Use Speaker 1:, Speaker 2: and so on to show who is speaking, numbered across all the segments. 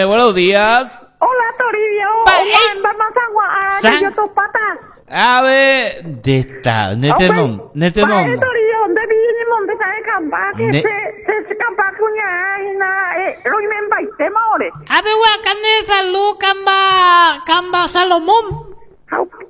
Speaker 1: Buenos días.
Speaker 2: Hola, Toribio.
Speaker 1: A ver, de esta, nete non, nete non.
Speaker 2: Toribio, ¿dónde viene monte sabe camba? Que se se camba cuña ina roimembaitema ore.
Speaker 3: Ape guacane salud camba camba Salomón.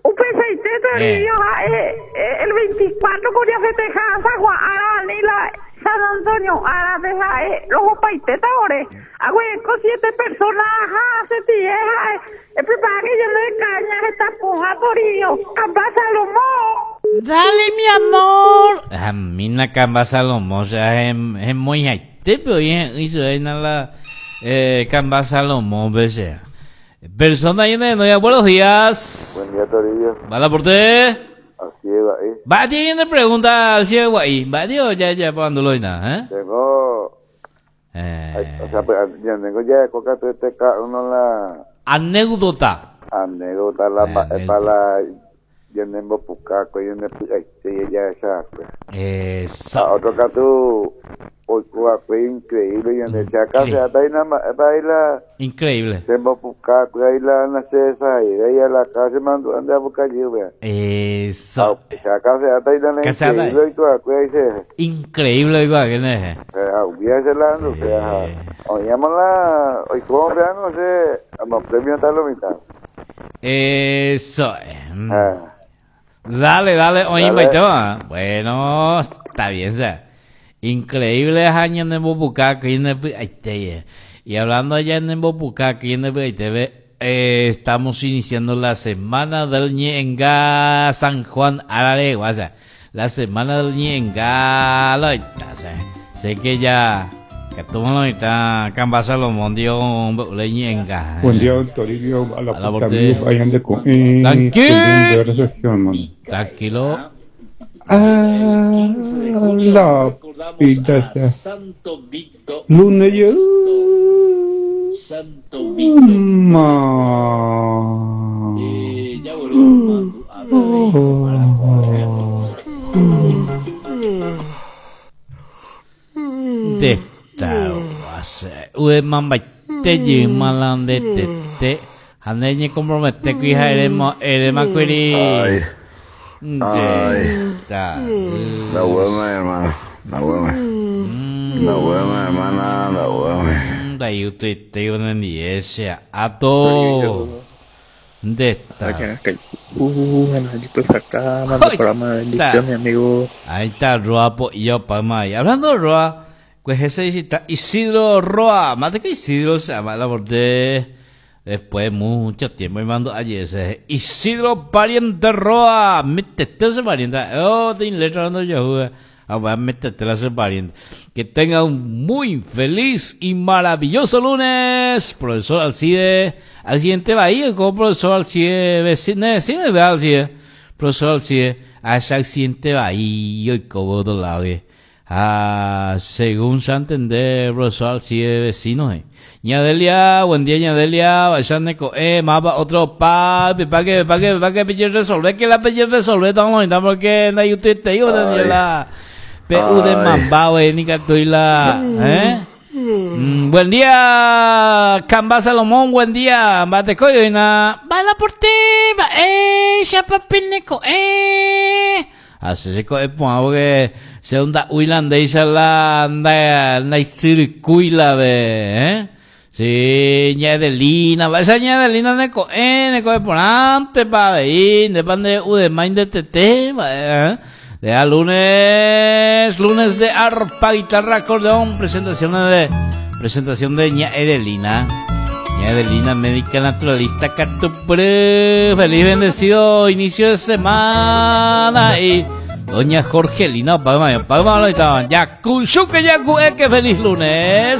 Speaker 2: Upechaite Toribio ha'e el 24 ko jafesteha San Juan ára ni la San Antonio árape ha'e rohopaitéta ore. Aguereko siete persona ha asetie ha'e eprepara que yo de caña heta pohã Toribio. Kamba Salomón.
Speaker 3: Dale mi amor.
Speaker 1: Amina Kamba Salomón, o sea, hemoihaitépe oĩ he'ỹi chupe la Kamba Salomón pe che. Persona llena de novia, buenos días.
Speaker 4: Buen día, Toribio.
Speaker 1: Va la por usted.
Speaker 4: Así es, ahí.
Speaker 1: Va, tiene pregunta al ciego ahí. Va, Dios, ya, ya, cuando lo ¿eh?
Speaker 4: Tengo. O sea, pues, yo tengo ya coca te cada uno la
Speaker 1: Anécdota.
Speaker 4: anécdota la pa,
Speaker 1: Anécdota.
Speaker 4: pa la yo tengo pucaco, yo tengo ya esa pues.
Speaker 1: Eso.
Speaker 4: A otro caso hoy fue increíble, yo en acá se hasta ahí nada ahí la
Speaker 1: Increíble.
Speaker 4: tengo pucaco, ahí la nace esa ahí, ahí a la casa mando anda a buscar yo, vea.
Speaker 1: Eso.
Speaker 4: Acá se hasta ahí la
Speaker 1: Que se hasta ahí.
Speaker 4: increíble y todo, ahí se
Speaker 1: Increíble igual que no es.
Speaker 4: Hubiese la, o sea, oíamos la, hoy como vean, no sé, a los premios está lo mitad.
Speaker 1: Eso.
Speaker 4: Ah,
Speaker 1: Dale, dale, oye,
Speaker 4: Dale.
Speaker 1: baite, va. Bueno, está bien, o sea. Increíble año en Bobuca, que en el- Y hablando allá en Bobuca, que en el estamos iniciando la semana del Ñenga San Juan Arare, o sea, la semana del Ñenga, lo está, o sea, sé que ya, que tú no está, Camba Salomón dio un Ñenga.
Speaker 5: Buen día, don Toribio. A la
Speaker 1: A la
Speaker 5: puta
Speaker 1: porte.
Speaker 5: amigo, vayan de con.
Speaker 1: Tranquilo.
Speaker 5: Recepción, mano.
Speaker 1: Tranquilo.
Speaker 5: Ah, la pita. Lunes yo. Ma.
Speaker 1: De esta base. Ue mambaite yimalande tete. Haneñe compromete cuija erema erema cuiri.
Speaker 6: Ay,
Speaker 1: De
Speaker 6: ay.
Speaker 1: esta.
Speaker 6: La buena, hermano. La buena. La buena, hermana. La buena.
Speaker 1: Da yutu te unen ato. De esta.
Speaker 7: Pues acá, mando programa de bendición, mi amigo.
Speaker 1: Ahí está Roa po y yo pa ma. Y hablando de Roa, pues ese visita Isidro Roa, más de que Isidro se llama la de después de mucho tiempo y mando ayer ese Isidro pariente Roa, métete ese pariente. Oh, te letra cuando yo jugué. Ah, bueno, métete ese pariente. Que tenga un muy feliz y maravilloso lunes, profesor Alcide. Al siguiente Bahía, como profesor Alcide, vecino, vecino, ¿verdad, Alcide? Profesor Alcide, a ese accidente Bahía y como otro lado, eh. Ah, según Santander, profesor Alcide, vecino, eh. Ñadelia, buen día, Ñadelia, vayan de co, mapa, otro pa, pa que, pa que, pa que, pinche resolver, que la pinche resolver, estamos en porque na YouTube te digo, Daniela. PU de
Speaker 6: Ay.
Speaker 1: Mambao, eh, ni la, ¿eh? Buen día, Camba Salomón, buen día, Bate coyo y na,
Speaker 3: Bala por ti, va, chapapineco,
Speaker 1: Así se coge porque se onda huilandesa la na na circuila ve, ¿eh? Sí, ñadelina, va esa ñadelina ne co ne coge por antes pa ver, de pan de u de main de tete, va, ¿eh? De a lunes, lunes de arpa, guitarra, acordeón, presentación de ña Edelina. Ña Edelina, médica naturalista, Catupre, feliz bendecido inicio de semana y doña Jorgelina, pa, pa, pa, pa, pa, ya, que feliz lunes.